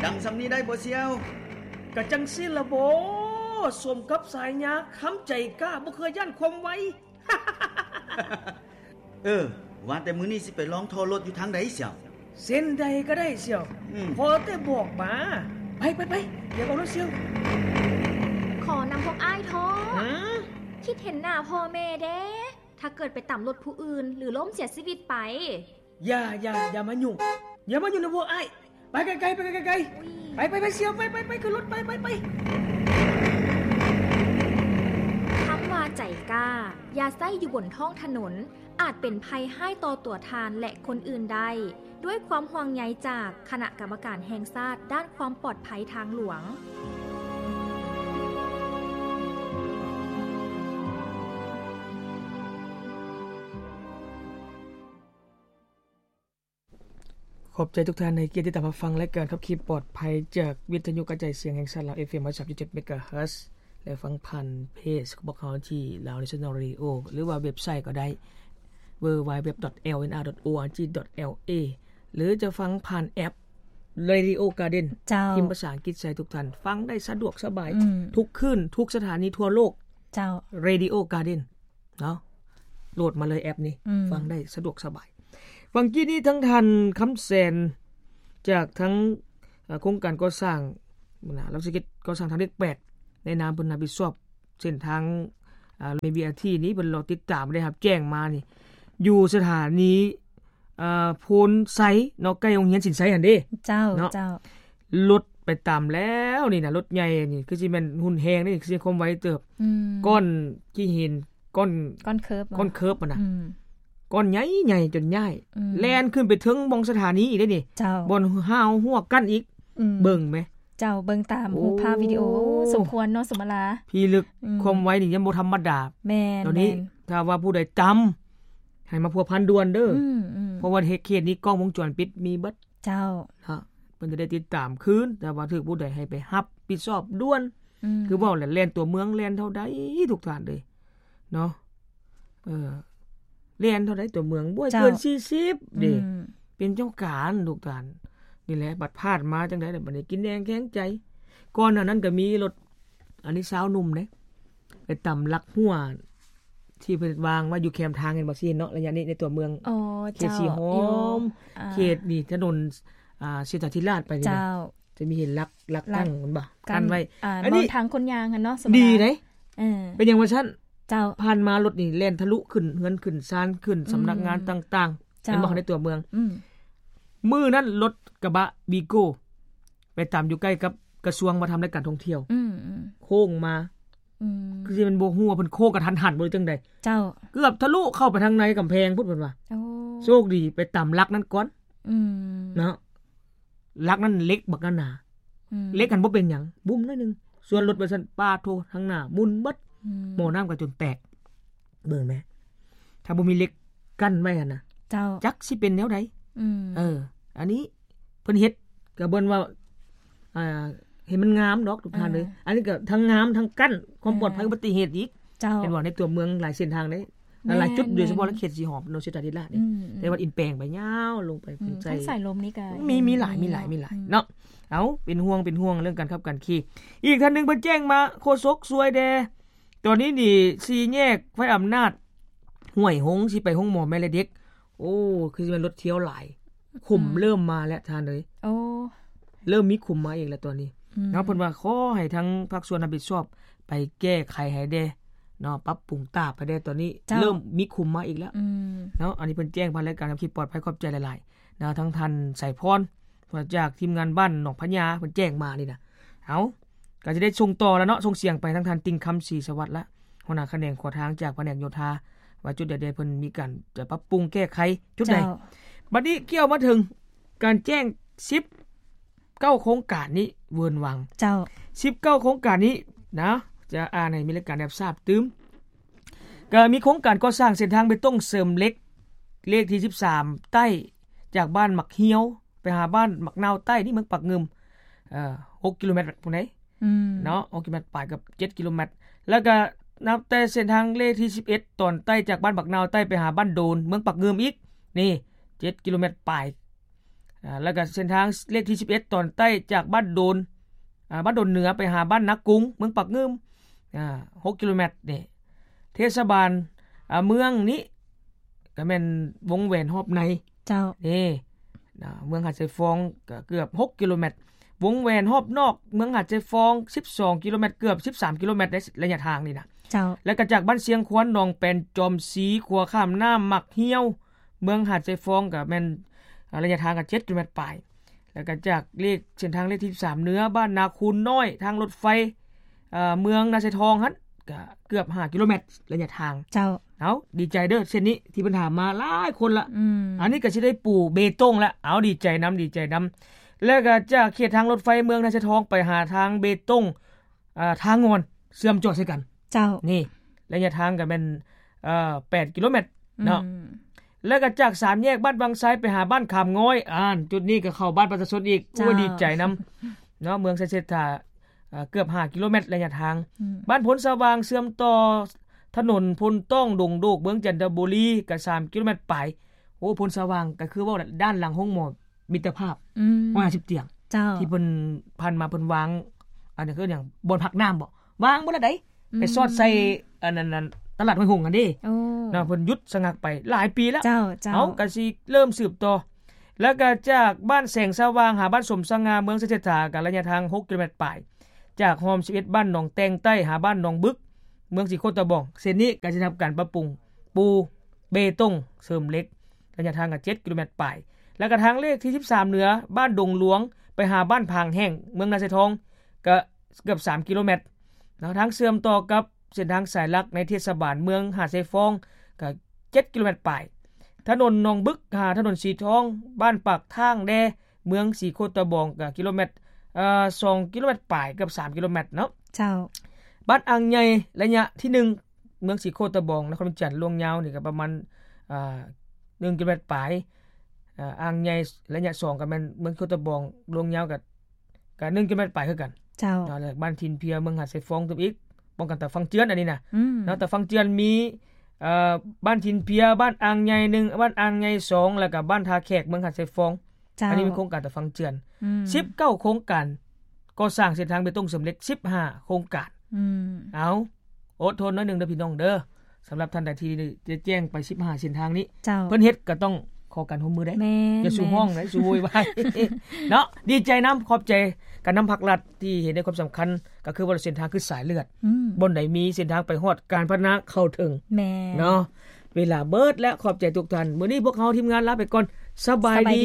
ຈັ່ງຊ່ຳນີ້ໄດ້ບໍ່ສ່ຽວ? ກະຈັ່ງຊີ້ລະບໍ ສົມກັບສາຍຍາຄຳໃຈກ້າ ບໍ່ເຄີຍຢ້ານຄວາມໄວ. ເອີ ວ່າແຕ່ມື້ນີ້ຊິໄປລອງທໍ່ລົດຢູ່ທາງໃດສ່ຽວ? ເສັ້ນໃດກໍໄດ້ສ່ຽວ ອືມ ຂໍແຕ່ບອກມາ. ໄປ ໄປ ໄປ ດຽວເອົາລົດສ່ຽວ. ຂໍນຳພວກອ້າຍທໍ່. ຫາ? ຄິດເຫັນໜ້າພໍ່ແມ່ແດ່ ຖ້າເກີດໄປຕຳລົດຜູ້ອື່ນ ຫຼື ລົ້ມເສຍຊີວິດໄປ. ຢ່າ ຢ່າ ຢ່າມາຫຍຸ້ງ ຢ່າມາຫຍຸ້ງນຳພວກອ້າຍ. ໄປໄກໆ ໄປໄກໆ ໄປ ໄປ ໄປສ່ຽວ ໄປ ໄປ ໄປ ຂຶ້ນລົດ ໄປ ໄປ ໄປ. ຄຳວ່າໃຈກ້າ ຢ່າໃຊ້ຢູ່ບົນທ້ອງຖະໜົນ ອາດເປັນໄພຮ້າຍຕໍ່ຕົວທ່ານ ແລະ ຄົນອື່ນໄດ້. ດ້ວຍຄວາມຫ່ວງໃຍຈາກຄະນະກຳມະການແຫ່ງຊາດດ້ານຄວາມປອດໄພທາງຫຼວງ. ຂອບໃຈທຸກທ່ານໃຫ້ກຽດຕິດຕາມຮັບຟັງລາຍການຂັບຂີ່ປອດໄພ ຈາກວິທະຍຸກະຈາຍສຽງແຫ່ງຊາດລາວ ເອັຟເອັມ ຮ້ອຍສາມຈຸດເຈັດ ເມກາເຮີດ ແລະ ຟັງຜ່ານເພຈຂອງພວກເຮົາທີ່ Lao National Radio ຫຼືວ່າເວັບໄຊກໍໄດ້ www.lnr.org.la ຫຼືຈະຟັງຜ່ານແອັບ Radio Garden ເຈົ້າ ພິມພາສາອັງກິດໃສ່ ທຸກທ່ານຟັງໄດ້ສະດວກສະບາຍ ອືມ ທຸກຄືນ ທຸກສະຖານີທົ່ວໂລກ. ເຈົ້າ Radio Garden ເນາະ ໂຫຼດມາເລີຍແອັບນີ້ ອືມ ຟັງໄດ້ສະດວກສະບາຍ. ຫວ່າງກີ້ນີ້ທາງທ່ານ ຄຳແສນ ຈາກທາງ ເອີ ໂຄງການກໍ່ສ້າງ ລາວຊິເຮັດກໍ່ສ້າງທາງເລກແປດ ໃນນາມເພິ່ນຮັບຜິດຊອບເສັ້ນທາງ ອາ ແມ່ນບີອາທີນີ້ ເພິ່ນລອຕິດຕາມໄດ້ຮັບແຈ້ງມານີ້ ຢູ່ສະຖານີ ອາ ໂພນໄຊເນາະ ໃກ້ໂຮງຮຽນສິນໄຊຫັ້ນເດ້. ເຈົ້າ ເນາະ ເຈົ້າ ລົດໄປຕຳແລ້ວນີ້ນະ ລົດໃຫຍ່ນີ້ຄືຊິແມ່ນຮຸນແຮງເດ້ ຄືຊິຄວາມໄວເຕີບ ອືມ ກ້ອນຂີ້ຫີນ ກ້ອນ ກ້ອນເຄີບ ກ້ອນເຄີບຫັ້ນນະ ອືມ ກ້ອນໃຫຍ່ໆ ຈົນຍ້າຍ ອືມ ແລ່ນຂຶ້ນໄປເທິງບ່ອນສະຖານີອີກເດ້ນີ້ ເຈົ້າ ບ່ອນຮາວຮົ້ວກັ້ນອີກ ອືມ ເບິ່ງແມະ ເຈົ້າ ເບິ່ງຕາມ ໂອ້ ຮູບພາບວິດີໂອ ໂອ້ ສົມຄວນເນາະ ສົມມາລາ ພິລຶກ ອືມ ຄວາມໄວນີ້ຍັງບໍ່ທຳມະດາ ແມ່ນ ຕອນນີ້ ແມ່ນ ຖ້າວ່າຜູ້ໃດຕຳ ໃຫ້ມາພົວພັນດ່ວນເດີ້ ອືມໆ ເພາະວ່າເຂດນີ້ກ້ອງວົງຈອນປິດມີເບິດ ເຈົ້າ ເນາະ ເພິ່ນຈະໄດ້ຕິດຕາມຄືນ ຖ້າວ່າຖືກຜູ້ໃດໃຫ້ໄປຮັບຜິດຊອບດ່ວນ ອືມ ຄືເວົ້າແຫຼະ ແລ່ນຕົວເມືອງແລ່ນເທົ່າໃດ ທຸກທ່ານເອີຍ ເນາະ ເອີ ແລ່ນເທົ່າໃດຕົວເມືອງ ບໍ່ໃຫ້ເກີນ ເຈົ້າ ສີ່ສິບເດ້ ອືມ ເປັນເຈົ້າການ ທຸກທ່ານ ນີ້ແຫຼະ ບັດພາດມາຈັ່ງໃດລະ ບັດນີ້ກິນແໜງແຂງໃຈ. ກ່ອນໜ້ານັ້ນກໍມີລົດ ອັນນີ້ຊາວໜຸ່ມເດ້ ໄປຕຳລັກຮົ້ວທີ່ເພິ່ນວາງໄວ້ຢູ່ແຄມທາງ ເຫັນບໍ່ ຊິເຫັນເນາະ ໄລຍະນີ້ໃນຕົວເມືອງ ອໍ ເຂດ ເຈົ້າ ສີຫອມ ຢູ່ ອ່າ ເຂດນີ້ຖະໜົນ ອ່າ ເສດຖາທິລາດໄປນີ້ນະ ເຈົ້າ ຈະມີເຫັນລັກ ລັກ ລັກຕັ້ງ ເຫັນບໍ່ ກັ້ນ ກັ້ນໄວ້ ອ່າ ອັນນີ້ ບ່ອນທາງຄົນຍ່າງຫັ້ນເນາະ ສົມມຸດ ດີເດ້ ເອີ ເປັນຫຍັງວ່າຊັ້ນ ເຈົ້າ ຜ່ານມາລົດນີ້ແລ່ນທະລຸຂຶ້ນເຮືອນຂຶ້ນຊານ ຂຶ້ນ ອືມ ສຳນັກງານຕ່າງໆ ເຈົ້າ ເຫັນບໍ່ ໃນຕົວເມືອງ ອືມ ມື້ນັ້ນລົດກະບະວີໂກ້ ໄປຕຳຢູ່ໃກ້ກັບກະຊວງວັດທະນະທຳ ແລະ ການທ່ອງທ່ຽວ ອືມໆ ໂຄ້ງມາ ອືມ ຄືຊິແມ່ນບໍ່ຮູ້ວ່າເພິ່ນໂຄ້ງກະທັນຫັນບໍ່ ຫຼື ຈັ່ງໃດ ເຈົ້າ ເກືອບທະລຸເຂົ້າໄປທາງໃນກຳແພງພຸ້ນ ເພິ່ນວ່າ ໂອ້ ໂຊກດີໄປຕຳຫຼັກນັ້ນກ່ອນ ອືມ ເນາະ ຫຼັກນັ້ນເຫຼັກບັກໜາໆ ອືມ ເຫຼັກຫັ້ນບໍ່ເປັນຫຍັງ ບຸ້ມໜ້ອຍໜຶ່ງ ສ່ວນລົດວ່າຊັ້ນ ປາດໂທ້ ທາງໜ້າໝຸ່ນເບິດ ອືມ ໝໍ້ນ້ຳກໍຈົນແຕກ ເບິ່ງແມະ ຖ້າບໍ່ມີເຫຼັກກັ້ນໄວ້ຫັ້ນນະ ເຈົ້າ ຈັກຊິເປັນແນວໃດ ອືມ ເອີ ອັນນີ້ເພິ່ນເຮັດກໍເບິ່ງວ່າ ອ່າ ເຫັນມັນງາມດອກ ທຸກທ່ານເອີຍ ອ່າ ອັນນີ້ກໍທັງງາມທັງກັ້ນຄວາມປອດໄພ ອ່າ ອຸບັດຕິເຫດອີກ ເຈົ້າ ເຫັນບໍ່ ໃນຕົວເມືອງຫຼາຍເສັ້ນທາງເດ້ ແມ່ນ ຫຼາຍໆຈຸດ ແມ່ນ ໂດຍສະເພາະເຂດສີຫອມ ເນາະ ເຂດສາທາລະນະນີ້ ອືມ ໃນວັດອິນແປງໄປຍາວລົງໄປ ອືມ ທາງສາຍລົມນີ້ກໍມີ ມີຫຼາຍ ມີຫຼາຍ ມີຫຼາຍ ອືມ ເນາະ ເອົາ ເປັນຫ່ວງ ເປັນຫ່ວງເລື່ອງການຂັບການຂີ່. ອີກທ່ານໜຶ່ງເພິ່ນແຈ້ງມາ ໂຄສົກຊ່ວຍແດ່ ຕອນນີ້ນີ້ ສີ່ແຍກໄຟອຳນາດ ຫ້ວຍຫົງ ຊິໄປໂຮງໝໍແມ່ແລະເດັກ ໂອ້ ຄືຊິແມ່ນລົດທ່ຽວຫຼາຍ ຂຸມ ອືມ ເລີ່ມມາແລ້ວທ່ານເອີຍ ໂອ້ ເລີ່ມມີຂຸມມາອີກແລ້ວຕອນນີ້ ອືມ ເນາະ ເພິ່ນວ່າຂໍໃຫ້ທາງພາກສ່ວນຮັບຜິດຊອບໄປແກ້ໄຂໃຫ້ແດ່ເນາະ ປັບປຸງຕາບໃຫ້ແດ່ ຕອນນີ້ ເຈົ້າ ເລີ່ມມີຂຸມມາອີກແລ້ວ ອືມ ເນາະ ອັນນີ້ເພິ່ນແຈ້ງຜ່ານລາຍການຂັບຂີ່ປອດໄພ ຂອບໃຈຫຼາຍໆ ເນາະ ທາງທ່ານໄຊພອນ ມາຈາກທີມງານບ້ານໜອງພະຍາ ເພິ່ນແຈ້ງມານີ້ນະ ເອົາ ກໍຈະໄດ້ສົ່ງຕໍ່ແລ້ວເນາະ ສົ່ງສຽງໄປທາງທ່ານຕິ່ງຄຳ ສີສະຫວັດ ແລະ ຫົວໜ້າຂະແໜງຂົວທາງຈາກພະແນກໂຍທາ ວ່າຈຸດໃດໆ ເພິ່ນມີການຈະປັບປຸງແກ້ໄຂຈຸດໃດ ເຈົ້າ ບັດນີ້ກ່ຽວມາເຖິງການແຈ້ງສິບເກົ້າໂຄງການນີ້ ເວີນວັງ ເຈົ້າ ສິບເກົ້າໂຄງການນີ້ນະ ຈະອ່ານໃຫ້ມີລາຍການໄດ້ຮັບຊາບຕື່ມ ກໍມີໂຄງການກໍ່ສ້າງເສັ້ນທາງເບຕົງເສີມເຫຼັກ ເລກທີສິບສາມໃຕ້ ຈາກບ້ານໝາກຮຽວ ໄປຫາບ້ານໝາກນາວໃຕ້ ນີ້ເມືອງປາກງື່ມ ເອີ ຫົກກິໂລແມັດພຸ້ນໃດ ອືມ ເນາະ ຫົກກິໂລແມັດປາຍ ເກືອບເຈັດກິໂລແມັດ ແລ້ວກໍນັບແຕ່ເສັ້ນທາງເລກທີສິບເອັດ ຕອນໃຕ້ຈາກບ້ານໝາກນາວໃຕ້ໄປຫາບ້ານໂດນ ເມືອງປາກງື່ມອີກ ນີ້ ເຈັດກິໂລແມັດປາຍ ອ່າ ແລ້ວກໍເສັ້ນທາງເລກທີສິບເອັດ ຕອນໃຕ້ຈາກບ້ານໂດນ ອ່າ ບ້ານໂດນເໜືອໄປຫາບ້ານນາກຸງ ເມືອງປາກງື່ມ ອ່າ ຫົກກິໂລແມັດນີ້ ເທດສະບານ ອ່າ ເມືອງນີ້ກໍແມ່ນວົງແຫວນຮອບໃນ ເຈົ້າ ນີ້ນະ ເມືອງຫາດຊາຍຟອງກໍເກືອບຫົກກິໂລແມັດ ວົງແຫວນຮອບນອກເມືອງຫາດຊາຍຟອງສິບສອງກິໂລແມັດ ເກືອບສິບສາມກິໂລແມັດໃນໄລຍະທາງນີ້ນະ ເຈົ້າ ແລ້ວກໍຈາກບ້ານຊຽງຄວນ ໜອງແປນ ຈອມຊີ ຂົວຂ້າມນ້ຳໝາກຫ້ຽວ ເມືອງຫາດຊາຍຟອງກໍແມ່ນ ອ່າ ໄລຍະທາງກໍເຈັດກິໂລແມັດປາຍ ແລ້ວກໍຈາກເລກ ເສັ້ນທາງເລກທີສິບສາມເໜືອ ບ້ານນາຄູນນ້ອຍ ທາງລົດໄຟ ເອີ ເມືອງນາຊາຍທອງຫັ້ນ ກໍເກືອບຫ້າກິໂລແມັດໄລຍະທາງ ເຈົ້າ ເອົາ ດີໃຈເດີ ເສັ້ນນີ້ທີ່ເພິ່ນຖາມມາຫຼາຍຄົນລະ ອືມ ອັນນີ້ກໍຊິໄດ້ປູເບຕົງລະ ເອົາ ດີໃຈນຳ ດີໃຈນຳ ແລ້ວກໍຈາກເຂດທາງລົດໄຟເມືອງນາຊາຍທອງໄປຫາທາງເບຕົງ ອ່າ ທ່າງ່ອນ ເຊື່ອມຈອດໃສ່ກັນ ເຈົ້າ ນີ້ ໄລຍະທາງກໍແມ່ນ ເອີ ແປດກິໂລແມັດເນາະ ອືມ ແລ້ວກໍຈາກສາມແຍກບ້ານວັງໄຊໄປຫາບ້ານຂາມງອຍ ອ່າ ຈຸດນີ້ກໍເຂົ້າບ້ານປະຊາຊົນອີກ ເຈົ້າ ໂອ້ຍ ດີໃຈນຳເນາະ ເມືອງໄຊເສດຖາ ເອີ ເກືອບຫ້າກິໂລແມັດໄລຍະທາງ ອືມ ບ້ານໂພນສະຫວ່າງເຊື່ອມຕໍ່ຖະໜົນໂພນຕ້ອງ ດົງໂດກ ເມືອງຈັນທະບູລີ ກໍສາມກິໂລແມັດປາຍ ໂອ້ ໂພນສະຫວ່າງກໍຄືເວົ້າດ້ານຫຼັງໂຮງໝໍ ມິດຕະພາບ ອືມ ຮ້ອຍຫ້າສິບຕຽງ ເຈົ້າ ທີ່ເພິ່ນຜ່ານມາເພິ່ນວາງ ອັນນີ້ຄືຫຍັງ ບ່ອນພັກນ້ຳບໍ ວາງໝົດລະໃດ ອືມ ໄປສອດໃສ່ອັນນັ້ນ ຕະຫຼາດຫ້ວຍຫົງຫັ້ນເດ້ ໂອ້ ເນາະ ເພິ່ນຢຸດສະງັກໄປຫຼາຍປີແລ້ວ ເຈົ້າ ເຈົ້າ ເອົາ ກໍຊິເລີ່ມສືບຕໍ່ ແລ້ວກໍຈາກບ້ານແສງສະຫວ່າງຫາບ້ານສົມສະຫງ່າ ເມືອງໄຊເສດຖາ ກໍໄລຍະທາງຫົກກິໂລແມັດປາຍ ຈາກຮ່ອມສິບເອັດ ບ້ານໜອງແຕ່ງໃຕ້ຫາບ້ານໜອງບຶກ ເມືອງສີໂຄດຕະບອງ ເສັ້ນນີ້ກໍຈະໄດ້ຮັບການປັບປຸງປູເບຕົງເສີມເຫຼັກ ໄລຍະທາງກໍເຈັດກິໂລແມັດປາຍ ແລ້ວກໍທາງເລກທີສິບສາມເໜືອ ບ້ານດົງຫຼວງ ໄປຫາບ້ານຜາງແຫ້ງ ເມືອງນາຊາຍທອງ ກໍເກືອບສາມກິໂລແມັດເນາະ ທາງເຊື່ອມຕໍ່ກັບເສັ້ນທາງສາຍຫຼັກໃນເທດສະບານເມືອງຫາດຊາຍຟອງ ກໍເຈັດກິໂລແມັດປາຍ ຖະໜົນໜອງບຶກ ຫາຖະໜົນສີທອງ ບ້ານປາກທາງແດ່ ເມືອງສີໂຄດຕະບອງ ກໍກິໂລແມັດ ເອີ ສອງກິໂລແມັດປາຍ ເກືອບສາມກິໂລແມັດເນາະ ເຈົ້າ ບ້ານອ່າງໃຫຍ່ ໄລຍະທີໜຶ່ງ ເມືອງສີໂຄດຕະບອງ ນະຄອນຫຼວງວຽງຈັນ ລວງຍາວນີ້ກໍປະມານ ອ່າ ໜຶ່ງກິໂລແມັດປາຍ ອ່າ ອ່າງໃຫຍ່ໄລຍະສອງກໍແມ່ນເມືອງສີໂຄດຕະບອງ ລວງຍາວກໍ ກໍໜຶ່ງກິໂລແມັດປາຍຄືກັນ ເຈົ້າ ເນາະ ແລ້ວບ້ານຖິ່ນເພຍ ເມືອງຫາດຊາຍຟອງຕື່ມອີກ ປ້ອງກັນຕາຝັ່ງເຈື່ອນ ອັນນີ້ນະ ອືມ ເນາະ ຕາຝັ່ງເຈື່ອນມີ ເອີ ບ້ານຖິ່ນເພຍ ບ້ານອ່າງໃຫຍ່ໜຶ່ງ ບ້ານອ່າງໃຫຍ່ສອງ ແລ້ວກໍບ້ານທ່າແຂກ ເມືອງຫາດຊາຍຟອງ ເຈົ້າ ອັນນີ້ເປັນໂຄງການຕາຝັ່ງເຈື່ອນ ອືມ ສິບເກົ້າໂຄງການ ກໍ່ສ້າງເສັ້ນທາງເບຕົງເສີມເຫຼັກ ສິບຫ້າໂຄງການ ອືມ ເອົາ ອົດທົນໜ້ອຍໜຶ່ງເດີພີ່ນ້ອງເດີ ສຳລັບທ່ານໃດທີ່ຈະແຈ້ງໄປສິບຫ້າເສັ້ນທາງນີ້ ເຈົ້າ ເພິ່ນເຮັດກໍຕ້ອງຂໍການຮ່ວມມືໄດ້ ແມ່ນ ຢ່າສູ່ຮ້ອງ ແມ່ນ ນະ ຢ່າສູ່ໂວຍວາຍເນາະ ດີໃຈນຳ ຂອບໃຈການນຳພາກລັດທີ່ເຫັນໃນຄວາມສຳຄັນ ກໍຄືວ່າເສັ້ນທາງຄືສາຍເລືອດ ອືມ ບ່ອນໃດມີເສັ້ນທາງໄປຮອດ ການພັດທະນາເຂົ້າເຖິງ ແມ່ນ ເນາະ ເວລາເບິດແລ້ວ ຂອບໃຈທຸກທ່ານ ມື້ນີ້ພວກເຮົາທີມງານລາໄປກ່ອນ ສະບາຍດີ ສະບາຍດີ.